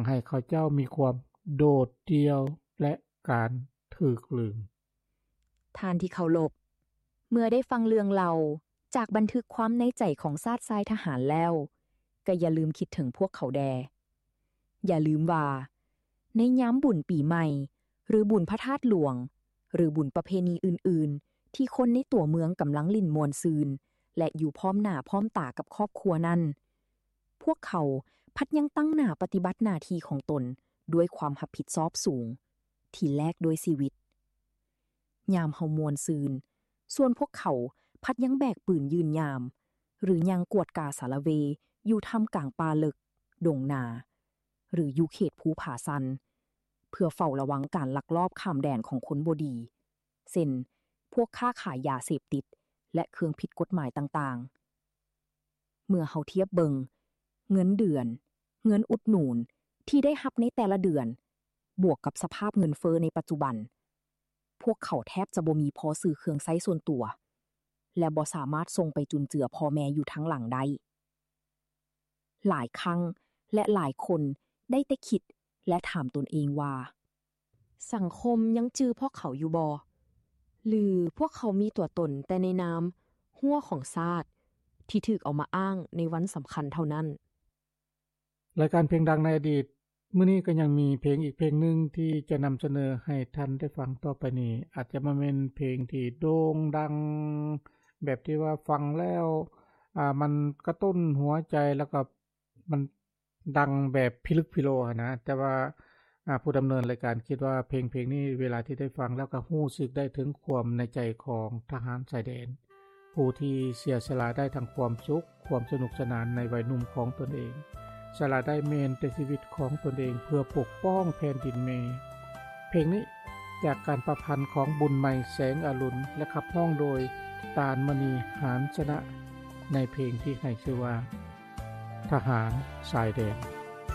ໃຫ້ເຂົາເຈົ້າມີຄວາມໂດດດ່ຽວ ແລະ ການຖືກລືມ. ທ່ານທີ່ເຄົາລົບ, ເມື່ອໄດ້ຟັງເລື່ອງເລົ່າຈາກບັນທຶກຄວາມໃນໃຈຂອງຊາດຊາຍທະຫານແລ້ວ, ກໍຢ່າລືມຄິດເຖິງພວກເຂົາແດ່. ຢ່າລືມວ່າ ໃນຍາມບຸນປີໃໝ່ ຫຼື ບຸນພະທາດຫຼວງ ຫຼື ບຸນປະເພນີອື່ນໆ ທີ່ຄົນໃນຕົວເມືອງກຳລັງຫຼິ້ນມ່ວນຊື່ນ ແລະ ຢູ່ພ້ອມໜ້າພ້ອມຕາກັບຄອບຄົວນັ້ນ, ພວກເຂົາພັດຍັງຕັ້ງໜ້າປະຕິບັດໜ້າທີ່ຂອງຕົນດ້ວຍຄວາມຮັບຜິດຊອບສູງ ທີ່ແລກດ້ວຍຊີວິດ. ຍາມເຮົາມ່ວນຊື່ນ, ສ່ວນພວກເຂົາພັດຍັງແບກປືນຢືນຍາມ ຫຼື ຍ່າງກວດກາສາລະເວຢູ່ທ່າມກາງປ່າເລິກ, ດົງນາ ຫຼື ຢູ່ເຂດພູຜາຊັນ ເພື່ອເຝົ້າລະວັງການລັກລອບຂ້າມແດນຂອງຄົນບໍ່ດີ ເຊັ່ນ ພວກຄ້າຂາຍຢາເສບຕິດ ແລະ ເຄື່ອງຜິດກົດໝາຍຕ່າງໆ. ເມື່ອເຮົາທຽບເບິ່ງເງິນເດືອນ, ເງິນອຸດໜູນທີ່ໄດ້ຮັບໃນແຕ່ລະເດືອນ ບວກກັບສະພາບເງິນເຟີ້ໃນປັດຈຸບັນ, ພວກເຂົາແທບຈະບໍ່ມີພໍຊື້ເຄື່ອງໃຊ້ສ່ວນຕົວ ແລະ ບໍ່ສາມາດສົ່ງໄປຈຸນເຈືອພໍ່ແມ່ຢູ່ທາງຫຼັງໄດ້. ຫຼາຍຄັ້ງ ແລະ ຫຼາຍຄົນໄດ້ແຕ່ຄິດ ແລະ ຖາມຕົນເອງວ່າ ສັງຄົມຍັງຈື່ພວກເຂົາຢູ່ບໍ່? ຫຼື ພວກເຂົາມີຕົວຕົນແຕ່ໃນນາມຮົ້ວຂອງຊາດ ທີ່ຖືກເອົາມາອ້າງໃນວັນສຳຄັນເທົ່ານັ້ນ? ລາຍການເພງດັງໃນອະດີດ ມື້ນີ້ກໍຍັງມີເພງອີກເພງໜຶ່ງທີ່ຈະນຳສະເໜີໃຫ້ທ່ານໄດ້ຟັງຕໍ່ໄປນີ້ ອາດຈະບໍ່ແມ່ນເພງທີ່ໂດ່ງດັງ ແບບທີ່ວ່າຟັງແລ້ວ ອ່າ ມັນກະຕຸ້ນຫົວໃຈ ແລ້ວກໍມັນດັງແບບພິລຶກພິໂລຫັ້ນນະ ແຕ່ວ່າ ອ່າ ຜູ້ດຳເນີນລາຍການຄິດວ່າເພງເພງນີ້ ເວລາທີ່ໄດ້ຟັງແລ້ວກໍຮູ້ສຶກໄດ້ເຖິງຄວາມໃນໃຈຂອງທະຫານຊາຍແດນ ຜູ້ທີ່ເສຍສະຫຼະໄດ້ທັງຄວາມສຸກ, ຄວາມສະໜຸກສະໜານໃນໄວໜຸ່ມຂອງຕົນເອງ, ສະຫຼະໄດ້ແມ່ນແຕ່ຊີວິດຂອງຕົນເອງເພື່ອປົກປ້ອງແຜ່ນດິນແມ່. ເພງນີ້ຈາກການປະພັນຂອງບຸນໃໝ່ ແສງອະລຸນ ແລະ ຂັບຮ້ອງໂດຍ ຕານມະນີ ຫານຊະນະ ໃນເພງທີ່ໃຫ້ຊື່ວ່າ ທະຫານຊາຍແດນ.